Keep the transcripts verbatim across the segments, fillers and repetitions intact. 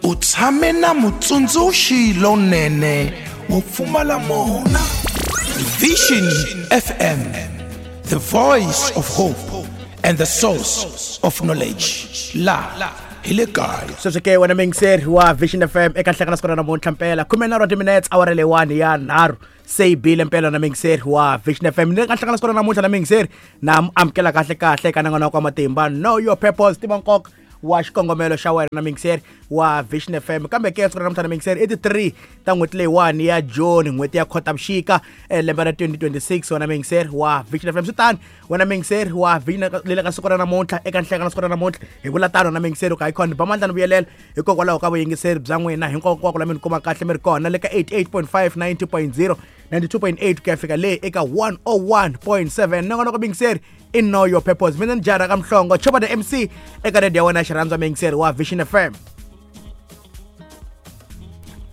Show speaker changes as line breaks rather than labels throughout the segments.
U tshame na mutsundzuxi lonene wo pfumala mona. Vision F M, the voice of hope and the source of knowledge. La hi le kaya.
Sweswi ke wena muyingiseri wa Vision F M eka nhlekana siku ra namuntlha mpela khume nharhu wa timinetse awara leyiwani ya nharhu se yi bile mpela na muyingiseri wa Vision F M. Ni le ka nhlekana siku ra namuntlha na muyingiseri na amukela kahle kahle eka nongonoko wa matimba Know Your Purpose, tiva nkoka wa xikongomelo xa wena na muyingiseri wa Vision F M. Kambe ke siku ra namuntlha na muyingiseri i ti three ta n'hweti leyiwani ya June, n'hweti ya Khotavuxika lembe ra twenty twenty-six. Wena muyingiseri wa Vision F M, swi tani wena muyingiseri wa Vision le ka siku ra namuntlha eka nhlekana siku ra namuntlha hi vula tano na muyingiseri ka icon ba mandla ni vuyelela hikokwalaho ka vuyingiseri bya n'wina hinkwako la mi ni kuma kahle mi ri kona le ka eighty-eight point five, ninety point zero, ninety-two point eight ku ya fika le eka one oh one point seven. Nongonoko muyingiseri i Know Your Purpose. Mina ni Jara ka Mhlongo, Chopa the M C eka radio ya wena xirhandza muyingiseri wa Vision F M.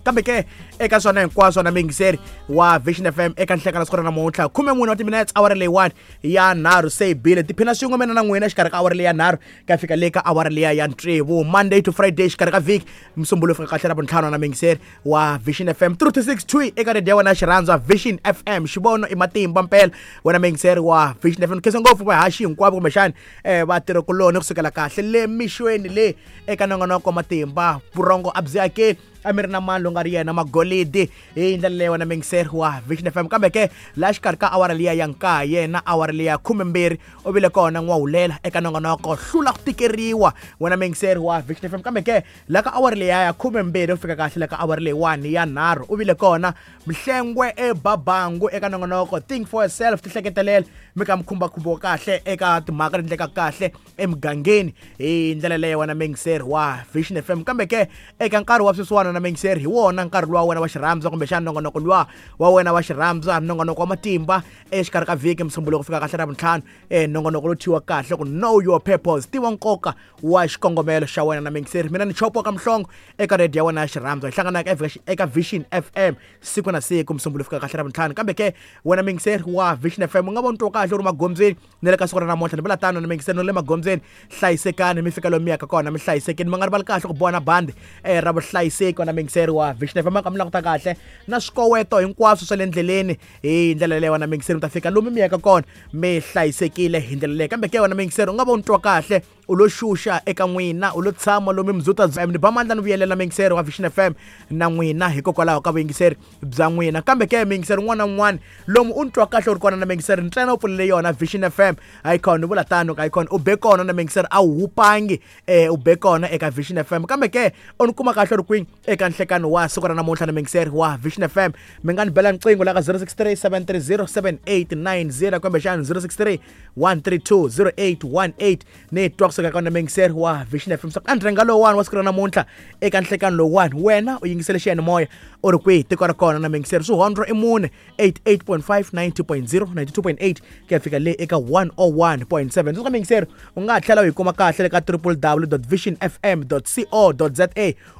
Kambe ke eka swona hinkwaswo na muyingiseri wa Vision F M eka nhlekana siku ra namuntlha khume mune wa timinetse awara leyiwani ya nharhu se yi bile tiphina swin'we mina na n'wina xikarhi ka awara leyi ya nharhu ku ya fika le ka awara liya ya tsevu, Monday to Friday xikarhi ka vhiki Musumbulo fika kahle ra vuntlhanu na muyingiseri wa Vision F M three to six two eka radio ya wena xirhandza Vision F M. Xivono i matimba mpela wena muyingiseri wa Vision F M. Khensa ngopfu vahaxi hinkwavo kumbexani um vatirhikuloni kusukela kahle le mixweni le eka nongonoko matimba vurhongo a byi akeli a mi ri na mani lowu nga ri yena magolidi hi ndlela leyi wena muyingiseri wa Vision F M. Kambe ke laha xikarhi ka awara liya ya nkaye na awara liya khumembirhi u vile kona n'wahulela eka nongonoko hlula ku tikeriwa wena muyingiseri wa Vision F M. Kambe ke laha ka awara liya ya khumembirhi u fika kahle la ka awara leyiwani ya nharhu u vile kona Mhlengwe eBabangu eka nongonoko Think for Yourself, tihleketelela mi ka mi khumbakhumbiwa kahle eka timhaka leti endlekaka kahle emugangeni hi ndlela leyi wena muyingiseri wa Vision F M. Kambe ke eka nkarhi wa sweswiwana na muyingiseri hi wona nkarhi luwa wena wa xirhandza kumbexana nongonoko luwa wa wena wa xirhandza nongonoko wa matimba exikarhi ka vhiki Musumbulo ku fika kahle ra vuntlhanu um nongonoko lowu thyiwa kahle ku Know Your Purpose, tiva nkoka wa xikongomelo xa wena na muyingiseri. Mina ni Chopo ka Mhlongo eka radio ya wena ya xirhandza hi hlanganaka eka Vision F M siku na siku Musumbulo fika kahle ra vuntlhanu. Kambe ke wena muyingiseri wa Vision F M u nga voni twa kahle u ri magondzweni ni le ka siku ra namuntlha ni vula tano na muyingiseri ni le magondzweni hlayisekani mi fika lomu mi yaka kona mi hlayisekini mi nga rivali kahle ku boha na bandi um ra vuhlayiseki wena muyingiseri wa Vision F M. Ka mi languta kahle na swikoweto hinkwaswo swa le ndleleni hi ndlela leyi wena muyingiseri mi ta fika lomu mi yaka kona mi hlayisekile hi ndlela leyi. Kambe ke wena muyingiseri u nga voni twa kahle u lo xuxa eka n'wina u lo tshama lomu mzuta ni ba mandla ni vuyelela muyingiseri wa Vision F M na n'wina hikokwalaho ka vuyingiseri bya n'wina. Kambe ke muyingiseri un'wana na un'wana lomu u ni twa kahle u ri kona na muyingiseri ntsena u pfulele yona Vision F M icon u vula tano ka icon u be kona na muyingiseri a wu hupangi um u be kona eka Vision F M. Kambe ke u ni kuma kahle u ri kwini eka nhlekano wa siku ra namuntlha na muyingiseri wa Vision F M mi nga ni bela nqingho la ka zero six three seven three zero seven eight nine zero kumbexana zero six three one three two zero eight one eight ni twa kusuka ka muyingiseri wa Vision F M. So andrenga lowuwani wa siku ra namuntlha eka nhlekano lowuwani wena u yingisele xiyanimoya u ri kwihi tiko ra kona na muyingiseri swihondro i mune eighty-eight point five, ninety point zero, ninety-two point eight ku ya fika le eka one oh one point seven. Sweswi ka muyingiseri u nga ha tlhela u yi kuma kahle le ka w w w dot vision f m dot co dot za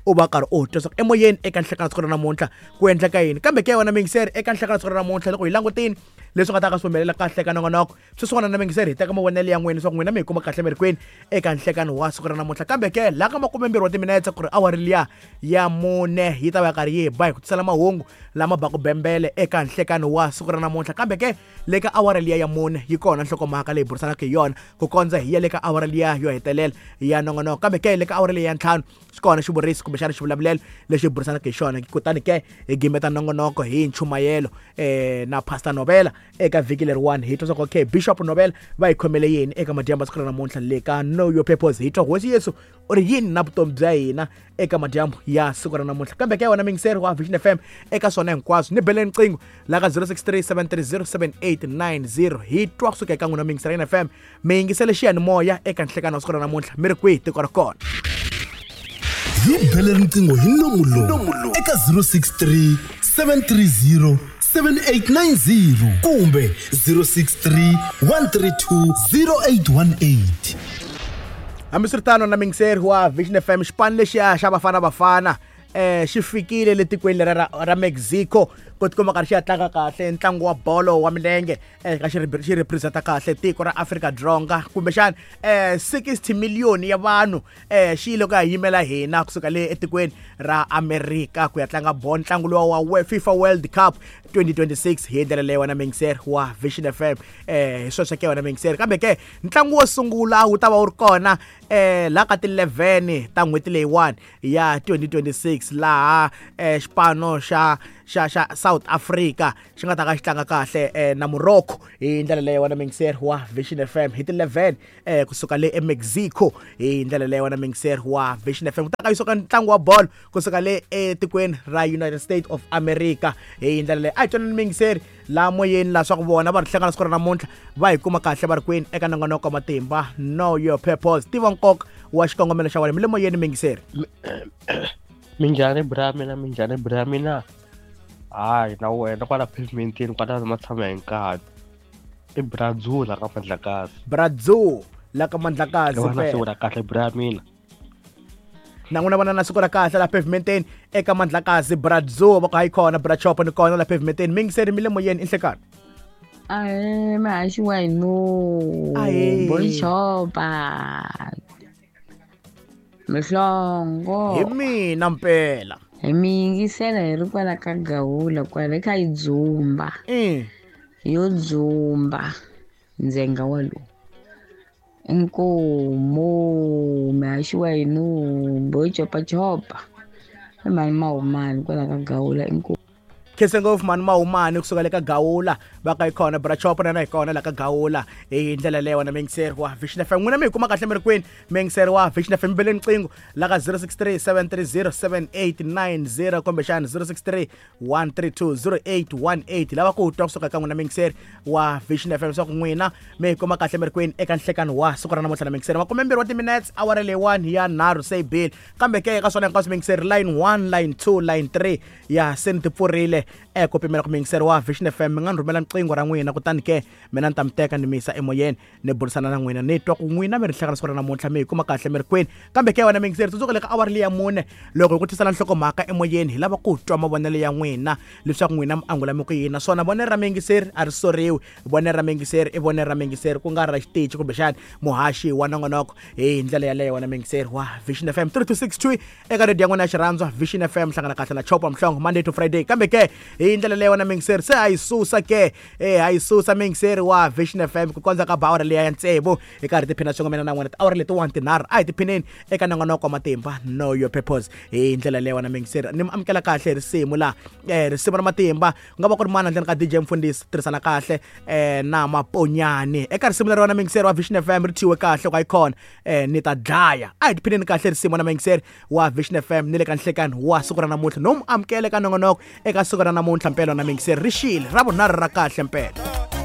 u va karhi u twa leswaku emoyeni eka nhlekano siku ra namuntlha ku endleka yini. Kambe ke wena muyingiseri eka nhlekano siku ra namuntlha loko hi langutini leswi nga ta ka swi humelela kahle eka nongonoko sweswiwana na muyingiseri hi teka mavonelo ya n'wina leswaku n'wina mi hi kuma kahle mi ri kwini eka nhlekano wa siku ra namuntlha. Kambe ke laha ka makumembirhi wa timinetse ku ri awara liya ya mune yi ta va karhi yi ba hi ku tisela mahungu lama baku bembele eka nhlekano wa siku ra namuntlha. Kambe ke le ka awara liya ya mune yi kona nhlokomhaka leyi burisanaka hi yona ku kondza hi ya le ka awara liya yo hetelela ya nongonoko. Kambe ke le ka awara liya ya ntlhanu swi kona xivuriso kumbexana xivulavulelo lexi burisanaka hi xona kutani ke hi gimeta nongonoko hi nchumayelo um na Pastor Novela eka vhiki leriwani hi twa swa ku okay Bishop Novela va hi khomele yini eka madyambu ya siku ra namuntlha le ka Know Your Purpose. Hi twa hosi Yesu u ri yini na vutomi bya hina eka madyambu ya siku ra namuntlha. Kambe ke wena muyingiseri wa Vision F M eka swona hinkwaswo ni beleni nqingho la ka zero six three seven three zero seven eight nine zero hi twa kusuka eka n'wina muyingiseri ya F M mi yingisele xiyanimoya eka nhlekano wa siku ra namuntlha mi ri kwihi tiko ra kona.
Hi bele riqingho hi nomu lowu eka zero six three seven three zero seven eight nine zero kumbe zero six three one three two zero eight one eight.
Hambiswiritano na muyingiseri wa Vision F M xipano lexiya xa Bafana Bafana eh xi fikile le tikweni leri ra, ra Mexico ku tikuma karhi xi ya tlanga kahle ntlangu wa bolo wa milenge eka xi xi representa kahle tiko ra Afrika-Dzonga kumbexana eh sixty million ya vanhu eh xi yile ku ya yimela hina kusuka le etikweni ra Amerika ku ya tlanga bolo ntlangu lowa wa FIFA World Cup twenty twenty-six hi ndlela leyi wena mingiseri wa Vision F M eh hi sweswo ke wena mingiseri kambe ke ntlangu wo sungula wu ta va wu ri kona eh la ka ti eleven ta n'hweti leyiwani ya twenty twenty-six laha eh xipano xa xa xa South Africa xi nga ta ka xi tlanga kahle eh, na Morocco hi ndlela leyi wena mingiseri wa Vision F M hi ti eleven eh kusuka le eMexico hi ndlela leyi wena mingiseri wa Vision F M ku ta ka yisuka ntlangu wa bolo kusuka le etikweni ra United States of America hi ndlela leyi a hi twanani mingiseri la moyeni la swa ku vona va ri hlangana siku ra namuntlha va hi kuma kahle va ri kwini eka nongonoko wa matimba Know Your Purpose tiva nkoka wa xikongomelo xa wena mi le moyeni mingiseri
minjhani bra mina minjhani bra mina hayi na wena kwala pavementini kwala matshama hi nkarhi i Bradzu la ka Mandlakazi
Bradzu la ka Mandlakazi
wena siku ra kahle bra mina
na n'wina vona na siku ra kahle la pavementeni eka Mandlakazi Bradzu va ku hayi kona bra chopo ni kona la pavementeni mingiseri mi le moyeni i nhlekani
ahe mahaxi wa hino bochopa Mhlongo
hi mina mpela
hi mi yingisela hi ri kwala ka Gawula kwala hi kha hi dzumba yo dzumba ndzenga walowu inkomo mahaxi wa hino bochopachopa i mani mahumani kwala ka Gawula inkomo
khense ngopfu mani mahumani kusuka le ka Gawula va ka hi kona bra chopo na hi kona la ka Gawula hi ndlela leyi wena mingiseri wa Vision F M n'wina mi hi kuma kahle mi ri kwini mingiseri wa Vision F M bele nqingho la ka zero six three seven three zero seven eight nine zero kumbexana zero six three one three two zero eight one eight lava ku twa kusuka ka n'wina mingiseri wa Vision F M leswaku n'wina mi hi kuma kahle mi ri kwini eka nhlekani wa siku ra namuntlha na mingiseri makumembirhi wa timinutes awara leyiwani ya nharhu se yi bile kambe ke eka swona hinkwaswo mingiseri line one line two line three ya se ni ti pfurile eh ku pimela ku mingiseri wa Vision F M mi nga ni rhumela nqingho ra n'wina kutani ke mina ni ta mi teka ni mi yisa emoyeni ni burisana na n'wina ni twa ku n'wina mi ri hlangana siku ra namuntlha mi hi kuma kahle mi ri kwini kambe ke wena mingiseri tsundzuka le ka awara leyi ya mune loko hi ku tisela nhlokomhaka emoyeni hi lava ku twa mavonelo ya n'wina leswaku n'wina mi angula mi ku yini naswona vonelo ra mingiseri a ri soriwi vonelo ra mingiseri i vonelo ra mingiseri ku nga ri ra xitichi kumbexana muhaxi wa nongonoko hi ndlela yaleyo wena mingiseri wa Vision F M three two six two eka radio ya n'wina ya xirhandzwa Vision F M hlangana kahle na Chopa Mhlongo Monday to Friday kambe ke hi ndlela leyi wena mingiseri se a yi susa ke eh a yi susa mingiseri wa Vision F M ku kondza ka ba awara leyi ya tsevu hi karhi tiphina swin'we mina na n'wina tiawara letiwani tinharhu a hi tiphineni eka nongonoko wa matimba Know Your Purpose hi ndlela leyi wena mingiseri ni mi amukela kahle risimu la eh risimu ra matimba ku nga va ku ri mana ndleni ka D J Mfundhisi tirhisana kahle eh na Maponyani eka risimu leri wena mingiseri wa Vision F M ri thyiwe kahle ku icon eh ni ta dlaya a hi tiphineni kahle risimu na mingiseri wa Vision F M ni le ka nhlekani wa siku ra namuntlha no mu amukele ka nongonoko eka siku ra namuntlha mpela na mingiseri ri xile ra vunharhu ra kahle mpela.